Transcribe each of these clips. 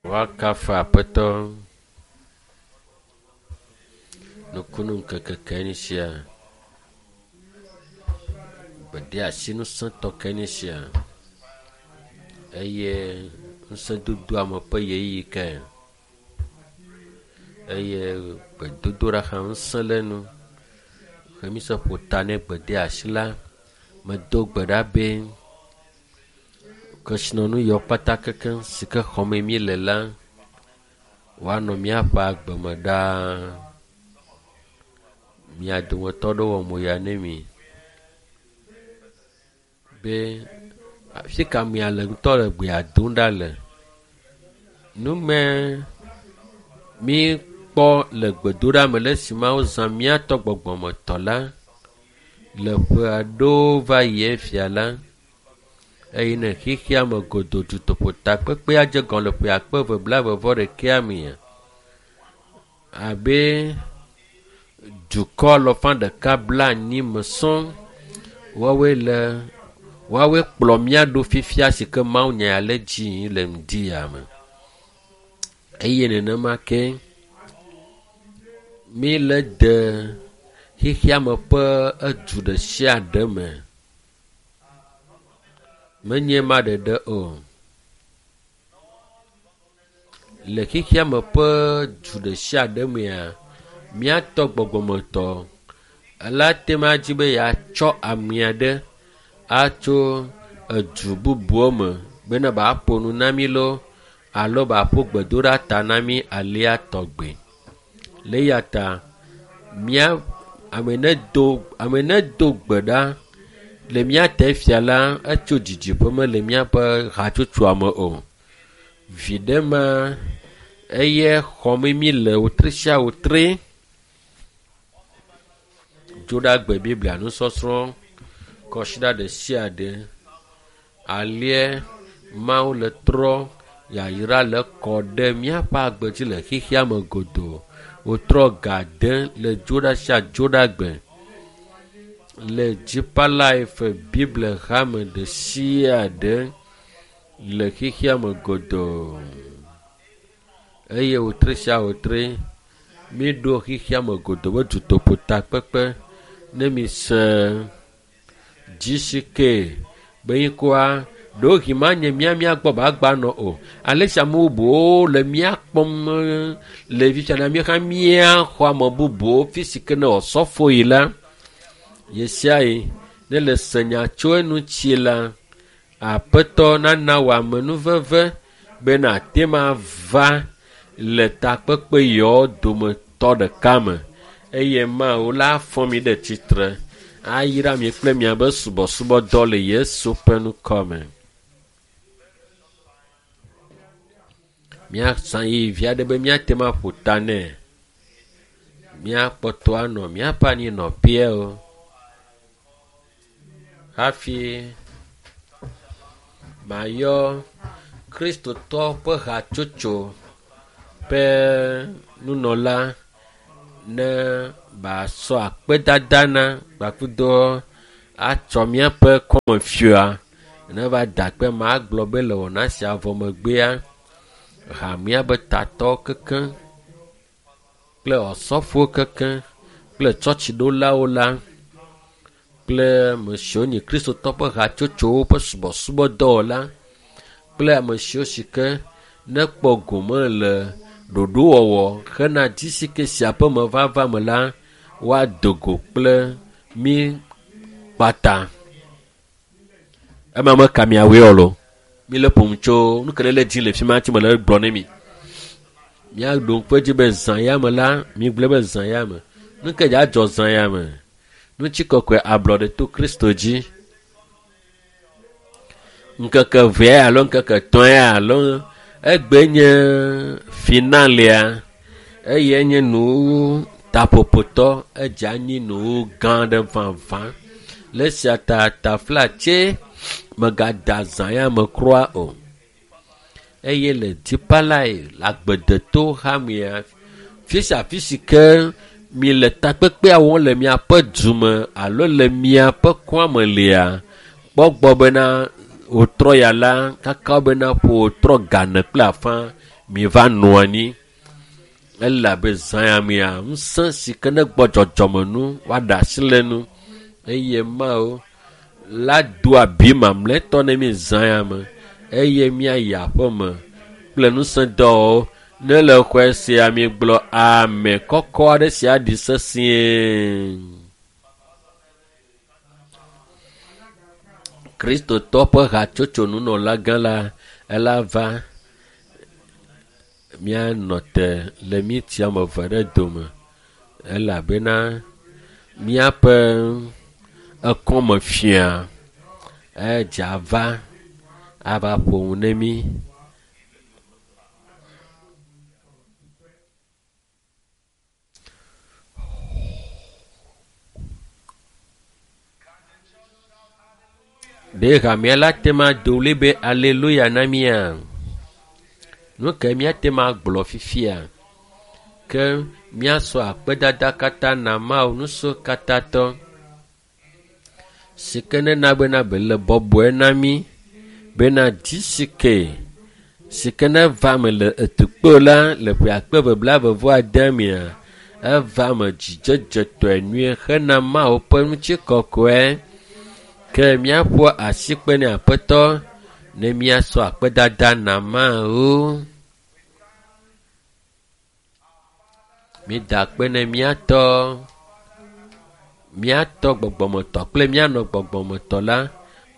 Woakafu Aƒetɔ. Nukunu ŋkeke kae nye sia. Gbedeasi ŋusẽtɔ kae nye sia eye ŋusẽdodo ame ƒe ʋeyiʋi kae eye gbedodoɖa hã ŋusẽ le enu. Ke mise ƒo ta ne gbedeasi la, medo gbe ɖa be kesinɔnu yawo kpata kekeŋ si ke xɔme mi le la, woanɔ míaƒe agbe me ɖaa. Mia dometɔ ɖewo wɔ moya ne mi be afi ka mia le ŋutɔ le gbea dom ɖa le. Nume mi kpɔ le gbedoɖa me le esi Mawu zã míatɔ gbɔgbɔmetɔ la le ƒe aɖewo va yi fia la eye ne xexea me godoo dutoƒo takpekpea dze gɔme le ƒe akpe eve blaeve vɔ ɖekɛa mea abe dukɔ alafa ɖeka bla anyi me sɔŋ woawoe le woawoe kplɔ mía ɖo fifia si ke Mawu nya ya le dzi yim le ŋdi ya me eye nenema ke mi le de xexea me ƒe edu ɖe sia ɖe me. Menye ma ɖeɖe o. Le xexea me ƒe du ɖe sia ɖe mea, míatɔ gbɔgbɔmetɔ ela te ma dzi be yeatsɔ ame aɖe atso edu bubuwo me bena ba ƒo nu na mí loo alo ba ƒo gbedoɖa ta na mí alea tɔgbe. Le eya ta mía ame ne do ame ne do gbe ɖa le mía te fia la etso didiƒe mele míaƒe hatsotsoa me o. Viɖe ma eye xɔme mi le wotri sia wotri. Dzoɖagbe Biblia nusɔsrɔ̃ kɔsiɖa ɖe sia ɖe. Alie Mawu le trɔ yayra le kɔ ɖe míaƒe agbe dzi le xexea me godoo. Wotrɔ ga de le dzoɖa sia dzoɖagbe le Deeper Life Bible hame ɖe sia ɖe le xexea me godoo. Eye wotri sia wotri míɖo xexea me godoo be dutoƒo takpekpe ne mi se GCK be ŋkɔa ɖewohĩ manye mía mía gbɔ ba gba nɔ o. Ale si ame bubuwo le mía kpɔm le fifia la míaxã míaxɔ ame bubuwo fi si ke ne osɔfo yi la ɣesiaɣi ne le se nya tso eŋuti la Aƒetɔ nana wò amenuveve bena ate ma va le takpekpe yawo dometɔ ɖeka me eye Mawu la fɔ mi ɖe tsitre ayra mi kple miabe subɔsubɔdɔ le Yesu ƒe ŋkɔ me. Míazã ɣeyiɣi aɖe be míate ŋu aƒo ta nɛ. Míakpɔtɔ anɔ míaƒe anyinɔƒeawo hafi mayɔ Kristotɔ ƒe hatsotso ƒe nunɔla ne basɔ akpedada na kpakple atsɔ míaƒe kɔmefia ne va da akpe magblɔ be le wɔna sia vɔ megbea hamea be tatɔwo kekeŋ kple osɔfowo kekeŋ kple tsɔtsiɖolawo la kple ame siwo nye kristotɔ ƒe hatsotsowo ƒe subɔsubɔdɔwɔla kple ame siwo si ke nekpɔ gome le ɖoɖowɔwɔ hena GCK sia ƒe mevava me la woado go kple mí kpata. Ema meka miawoe o lo. Mi le ƒom tso nu ke ne le dzi le fi ma tsi me le gblɔ ne mi. Míaɖo ŋku edzi be zã ya me la, mi gblɔ be zã ya me. Nu ke dza dzɔ zã ya me. Ŋutikɔkɔe ablɔɖe to Kristo dzi. Ŋkeke evea alo ŋkeke etɔ̃a alo egbe nye finalea eye nye nuwuwu taƒoƒotɔ edze anyi nuwu gã aɖe vavã. Le esia ta taflatse megada zã ya me kura o. Eye le Deeper Life le agbedeto hamea fi sia fi si ke mi le takpekpea wɔm le miaƒe dume alo le miaƒe kɔa me lia kpɔ gbɔ bena wòtrɔ ya la kaka bena ƒo wòtrɔ gane kple afã Miva nɔ anyi elabe zã ya mea ŋusẽ si ke ne gbɔ dzɔdzɔme nu woaɖe asi le nu eye Mawu la do abi mamlɛtɔ ne mi zã ya me eye míayi aƒe me kple ŋusẽdɔwɔwo. Ne le xɔe sia mi gblɔ ame kɔkɔ aɖe si aɖi sesĩe. Kristotɔ ƒe hatsotso nunɔlagã la ela va míanɔ te le miti ame eve ɖe dome elabena míaƒe ekɔme fia edze ava ava ƒo nu ne mí. Ɖe hamea la te ma do ɣli be aleluya na mía? Nu ke míate ma gblɔ fifia? Ke míasɔ akpedada katã na Mawu nusɔkatatɔ si ke nena bena be le bɔbɔe na mí bena dzi si ke si ke neva me le etukpo la le ƒe akpe eve blaeve-vɔ-ade mea eva me dzidzedzetɔe nyuie hena Mawu ƒe ŋutikɔkɔe. Ke míaƒo asikpe ne Aƒetɔ ne míasɔ akpedada na Mawu. Mída akpe ne míatɔ míatɔ gbɔgbɔmetɔ kple míanɔ gbɔgbɔmetɔ la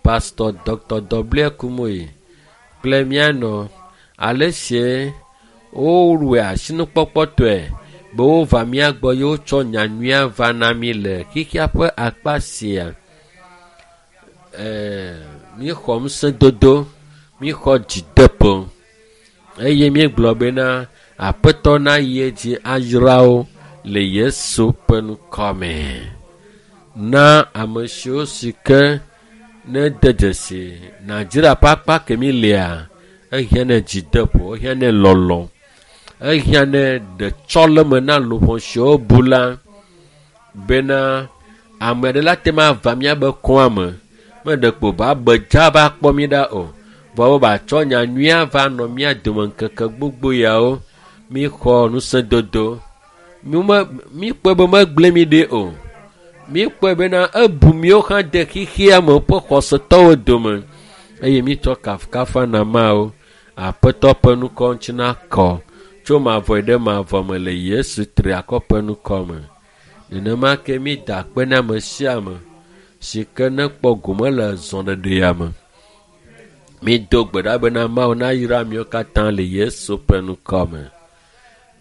Pastor Dr. W. Kumuyi kple míanɔ ale sie wowɔe asinukpɔkpɔtɔe be wova mía gbɔ ye wotsɔ nyanyuia va na mí le xexea ƒe akpa sia. Míexɔ ŋusẽdodo, míexɔ dzideƒo eye míegblɔ bena Aƒetɔ nayi edzi ayra wo le Yesu ƒe ŋkɔ me. Na ame siwo si ke ne de dzesi Nigeria ƒe akpa kemi lea, ehiã ne dzideƒo, ehiã ne lɔlɔ, ehiã ne ɖetsɔleme na luʋɔ siwo bu la bena ame aɖe la te ma va míabe kɔa me meɖe kpo ba be dza va kpɔ mí ɖa o. Vɔ wo batsɔ nyanyuia va nɔ mía dome ŋkeke gbogbo yawo. Míxɔ ŋusẽdodo. Míkpɔe be megblẽ mí ɖi o. Míkpɔe bena ebu míwo hã de xexea me ƒe xɔsetɔwo dome eye mítsɔ kafukafu na Mawu. Aƒetɔ ƒe ŋkɔ ŋuti nakɔ tso mavɔ ɖe mavɔ me le Yesu triakɔ ƒe ŋkɔ me. Nenema ke mída akpe na ame sia ame si ke nekpɔ gome le zɔɖeɖea me. Mído gbe ɖa bena Mawu nayra miwo katã le Yesu ƒe ŋkɔ me.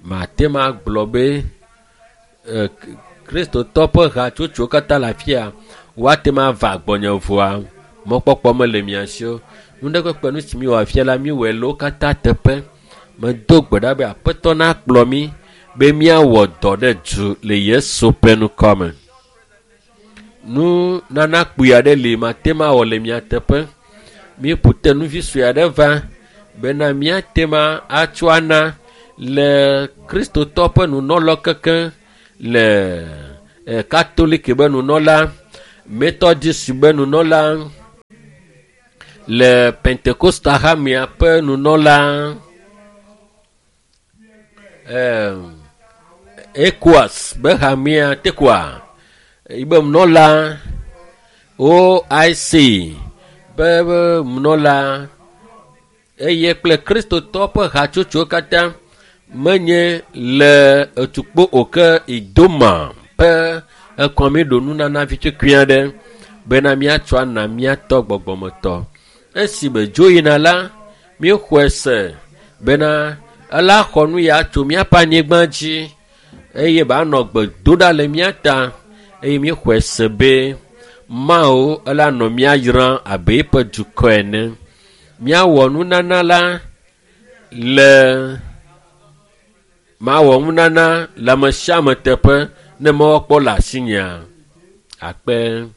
Mate ma gblɔ be Kristotɔ ƒe hatsotsowo katã le afia woate ma va gbɔnye vɔa mɔkpɔkpɔ mele mia si o. Nu ɖe kpekpe nu si miwɔ afia la miwɔe le wo katã teƒe. Medo gbe ɖa be Aƒetɔ nakplɔ mí be míawɔ dɔ ɖe du le Yesu ƒe ŋkɔ me. Nu nana kpui aɖe li mate ma wɔ le mia teƒe. Míeƒo te nuvi sue aɖe va bena míate ma atsɔ ana le Kristotɔ ƒe nunɔlɔ keke le Katoliki be nunɔla, Methodist be nunɔla, le Pentecostal hamea ƒe nunɔla, ECOWAS be hamea tekoa yibe nunɔla, OIC be nunɔla eye kple Kristotɔ ƒe hatsotsowo katã menye le etukpo o ke Idoma ƒe ekɔmi ɖo nunana vitukui aɖe bena míatsɔ ana míatɔ gbɔgbɔmetɔ. Esi be dzo yina la, míexɔe se bena ela xɔ nu ya tso míaƒe anyigba dzi eye ba nɔ gbe do ɖa le mía ta eye míexɔe se be Mawu ela nɔ mía yram abe eƒe dukɔ ene. Míawɔ nunana la le mawɔ nunana le ame sia ame teƒe ne mewɔkpɔ le asinyea. Akpe.